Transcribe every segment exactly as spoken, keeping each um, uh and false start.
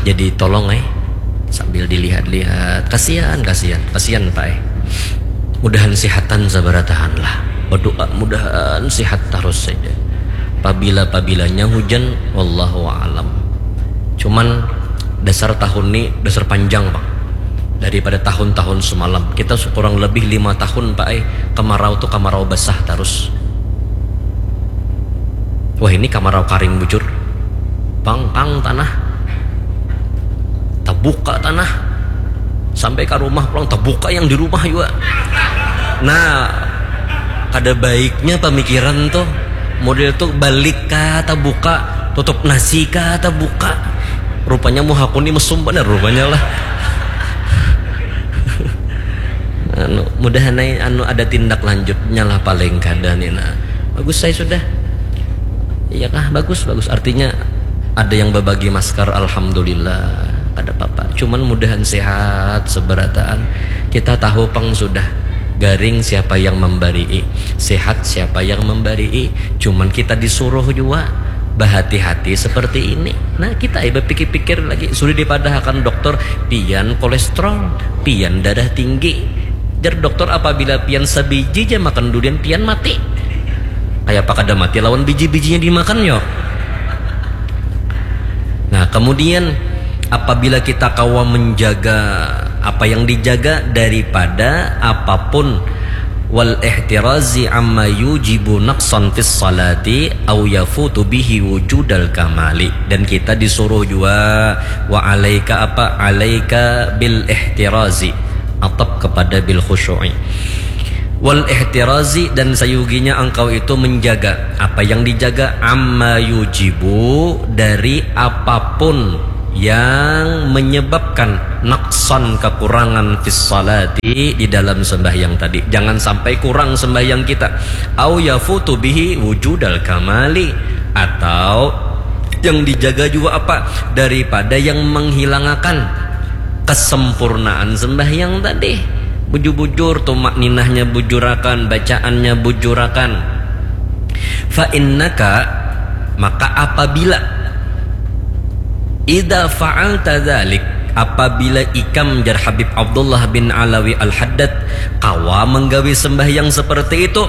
Jadi tolong eh, sambil dilihat-lihat. Kasihan, kasihan, kasihan Pak eh. Mudahan sihatan sabaratahan lah. Berdoa mudahan sihat terus saja. Pabila-pabilanya hujan, wallahu alam. Cuman dasar tahun ni dasar panjang Pak. Daripada tahun-tahun semalam, kita kurang lebih lima tahun Pak eh, kemarau tu kemarau basah terus. Wah, ini kamarau karing bujur. Pang, pang tanah. Tabuka tanah. Sampai ke rumah pulang tabuka yang di rumah juga. Nah, kada baiknya pemikiran tuh. Model tuh balik kah tabuka, tutup nasi kah tabuka. Rupanya muhaku ni mesum banar rupanya lah. Anu, mudahan ai anu ada tindak lanjutnya lah paling kada ni nah. Bagus saya sudah. Iya kah? Bagus, bagus. Artinya ada yang berbagi masker, alhamdulillah. Kada apa-apa. Cuman mudahan sehat seberataan. Kita tahu pang sudah garing siapa yang memberi, sehat siapa yang memberi. Cuman kita disuruh juga berhati-hati seperti ini. Nah, kita ai berpikir-pikir lagi, sudah dipadahakan dokter, pian kolesterol, pian darah tinggi. Jar dokter, apabila pian sabiji ja makan durian, pian mati. Kayak apa kada mati lawan biji-bijinya dimakan yo. Nah, kemudian apabila kita kawa menjaga apa yang dijaga daripada apapun, wal ihtirazi amma yujibu naqsan fis salati au yafutu bihi wujudal kamali. Dan kita disuruh juga wa alaika apa? Alaika bil ihtirazi. Atap kepada bil khusyu'i. Wal ihtirazi, dan sayuginya engkau itu menjaga apa yang dijaga, amma yujibu, dari apapun yang menyebabkan naqsan, kekurangan, fis salati, di dalam sembahyang tadi. Jangan sampai kurang sembahyang kita. Au yafutu bihi wujudal kamali, atau yang dijaga juga apa? Daripada yang menghilangakan kesempurnaan sembahyang tadi. Bujur-bujur tumak ninahnya bujurakan, bacaannya bujurakan. Fa innaka, maka apabila, idza fa'alta dzalik, apabila ikam, jar Habib Abdullah bin Alawi Al-Haddad, kawa menggawi sembahyang seperti itu,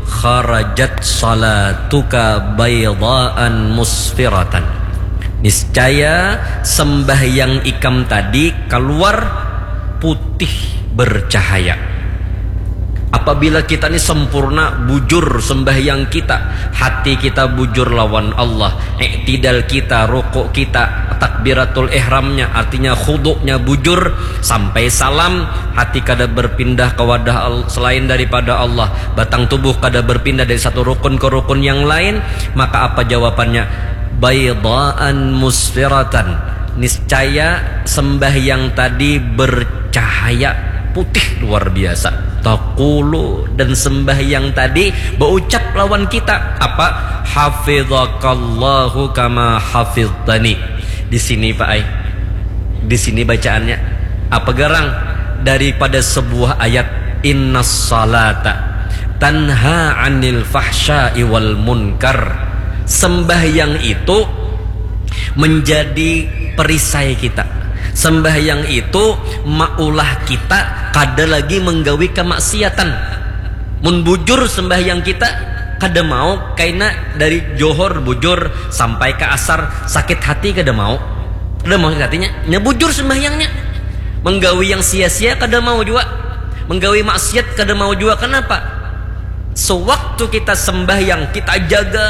kharajat salatuka baydaan musfiratan. Niscaya sembahyang ikam tadi keluar putih bercahaya. Apabila kita ni sempurna, bujur sembahyang kita, hati kita bujur lawan Allah, iktidal kita, rukuk kita, takbiratul ihramnya, artinya khuduknya bujur sampai salam, hati kada berpindah ke wadah selain daripada Allah, batang tubuh kada berpindah dari satu rukun ke rukun yang lain, maka apa jawabannya? Baydaan musfiratan. Niscaya sembahyang tadi bercahaya putih luar biasa. Taqulu, dan sembahyang tadi berucap lawan kita apa? Hafidhakallahu kama hafidhtani. Di sini Pak ai. Di sini bacaannya apa garang? Daripada sebuah ayat, innas salata tanha anil fahsya'i wal munkar. Sembahyang itu menjadi perisai kita. Sembahyang itu maulah kita kada lagi menggawi kemaksiatan. Mun bujur sembahyang kita, kada mau kaina dari johor bujur sampai ke asar sakit hati, kada mau. Kada mau sakit hatinya, nya bujur sembahyangnya. Menggawi yang sia-sia kada mau juga. Menggawi maksiat kada mau juga. Kenapa? Sewaktu kita sembahyang, kita jaga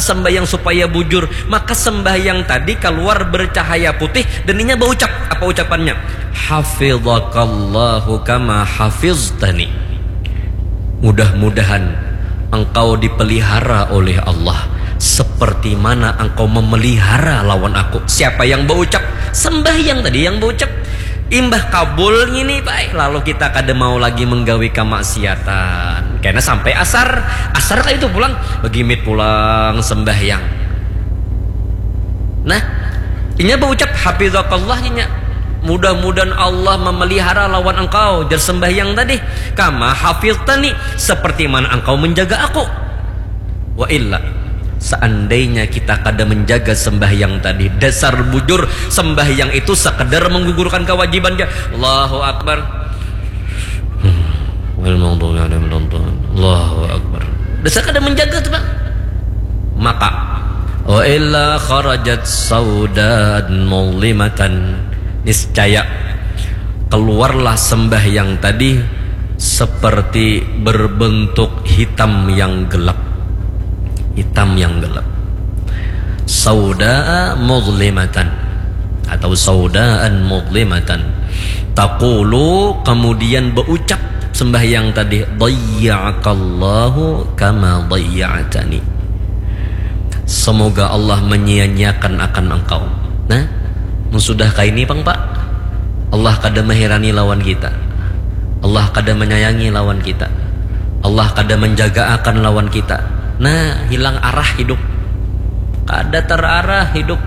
sembahyang supaya bujur, maka sembahyang tadi keluar bercahaya putih dan inya berucap. Apa ucapannya? Hafidhakallahu kama hafiztani. Mudah-mudahan engkau dipelihara oleh Allah seperti mana engkau memelihara lawan aku. Siapa yang berucap? Sembahyang tadi yang berucap. Imbah kabul ngini, baik, lalu kita kada mau lagi menggawi kemaksiatan. Karena sampai asar, asar kayak itu pulang, begimit pulang sembahyang. Nah, inya berucap, hafidhakallah, inya. Mudah-mudahan Allah memelihara lawan engkau, jar sembahyang tadi. Kama hafidhtani, seperti mana engkau menjaga aku. Wa illa, Seandainya kita kada menjaga sembahyang tadi, dasar bujur sembahyang itu sekedar menggugurkan kewajibannya. Allahu Akbar. Hmm. Allahu Akbar. Dasar kada menjaga tuh, Pak. Maka wa illa kharajat saudan mulimatan. Niscaya keluarlah sembahyang tadi seperti berbentuk hitam yang gelap. Hitam yang gelap. Sauda mudlimatan atau saudaan mudlimatan. Taqulu, kemudian berucap sembahyang tadi, dayya'akallahu kama dayya'tani. Semoga Allah menyia-nyiakan akan engkau. Nah, mun sudah kaini pang, Pak, Allah kada mahirani lawan kita. Allah kada menyayangi lawan kita. Allah kada menjaga akan lawan kita. Nah, hilang arah hidup. Kada terarah hidup.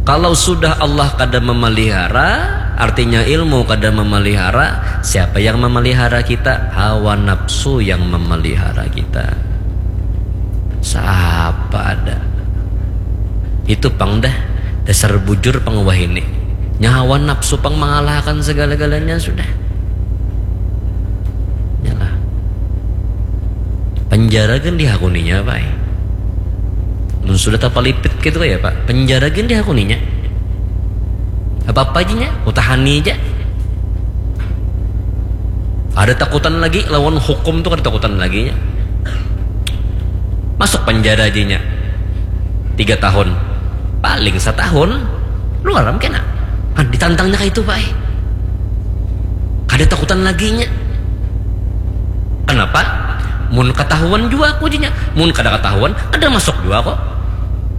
Kalau sudah Allah kada memelihara, artinya ilmu kada memelihara, siapa yang memelihara kita? Hawa nafsu yang memelihara kita. Siapa ada? Itu pang dah, dasar bujur pang wahini. Nyawa nafsu pang mangalahakan segala-galanya sudah. Nyalah. Penjara kan dihakuninya, Pak. Mun sudah tapalipit gitu ya, Pak. Penjara kan dihakuninya. Apa-apa aja nya, utahani aja. Ada takutan lagi lawan hukum tuh, ada takutan lagi nya. Masuk penjara aja nya. Tiga tahun. Paling setahun. Luar am kena. Kan ditantangnya kayak itu, Pak. Kada takutan lagi nya. Kenapa? Mun ketahuan jua aku aja nya. Mun kada ketahuan, kada masuk jua kok.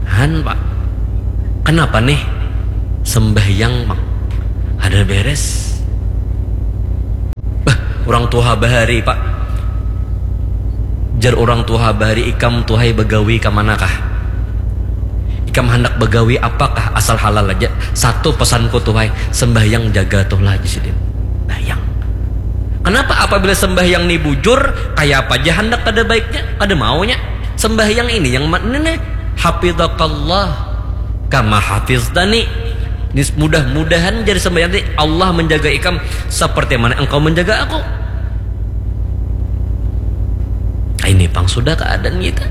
Han, Pak. Kenapa nih? Sembahyang, Pak. Ada beres. Bah, orang tuha bahari, Pak. Jar orang tuha bahari, ikam tuhai bagawi ka manakah? Ikam handak bagawi apakah, asal halal aja. Satu pesanku tuhai, sembahyang jaga tuhlah, jar sidin. Bayang. Kenapa apabila sembahyang ni bujur, kaya apa aja handak kada baiknya, kada maunya? Sembahyang ini yang ma-, ini nih, hafidhakallah kama hafiztani. Nis-, mudah-mudahan jadi sembahyang tadi, Allah menjaga ikam seperti mana engkau menjaga aku. Ini pang sudah keadaan kita.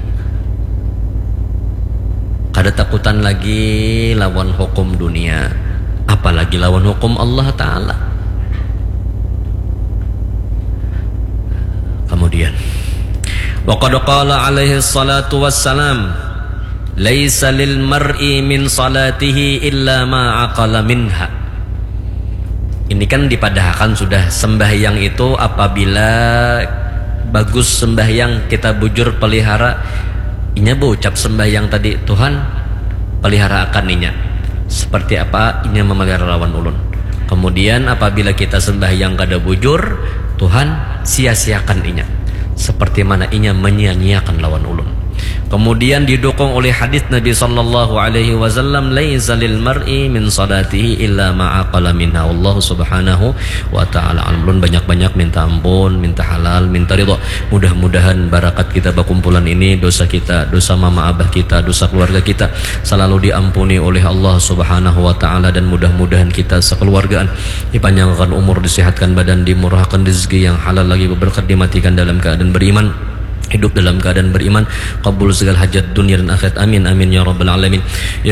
Kada takutan lagi lawan hukum dunia, apalagi lawan hukum Allah Ta'ala. Kemudian, wa qad qala alaihi salatu wassalam, laisa lil mar'i min salatihi illa ma aqala minha. Ini kan dipadahakan sudah, sembahyang itu apabila bagus sembahyang, kita bujur pelihara, inya berucap sembahyang tadi, Tuhan, pelihara akan inya. Seperti apa inya memelihara lawan ulun. Kemudian apabila kita sembahyang kada bujur, Tuhan, sia-siakan inya. Seperti mana inya menyia-nyiakan lawan ulun. Kemudian didukung oleh hadis Nabi sallallahu alaihi wasallam, laisa lil mar'i min salatihi illa ma aqala minha. Allah subhanahu wa ta'ala alam. Ulun banyak-banyak minta ampun, minta halal, minta ridho. Mudah-mudahan barakat kita bakumpulan ini, dosa kita, dosa mama abah kita, dosa keluarga kita selalu diampuni oleh Allah subhanahu wa ta'ala, dan mudah-mudahan kita sekeluargaan dipanjangkan umur, disehatkan badan, dimurahkan rezeki yang halal lagi berberkat, dimatikan dalam keadaan beriman, hidup dalam keadaan beriman, kabul segala hajat dunia dan akhirat. Amin, amin, ya rabbal alamin. Ya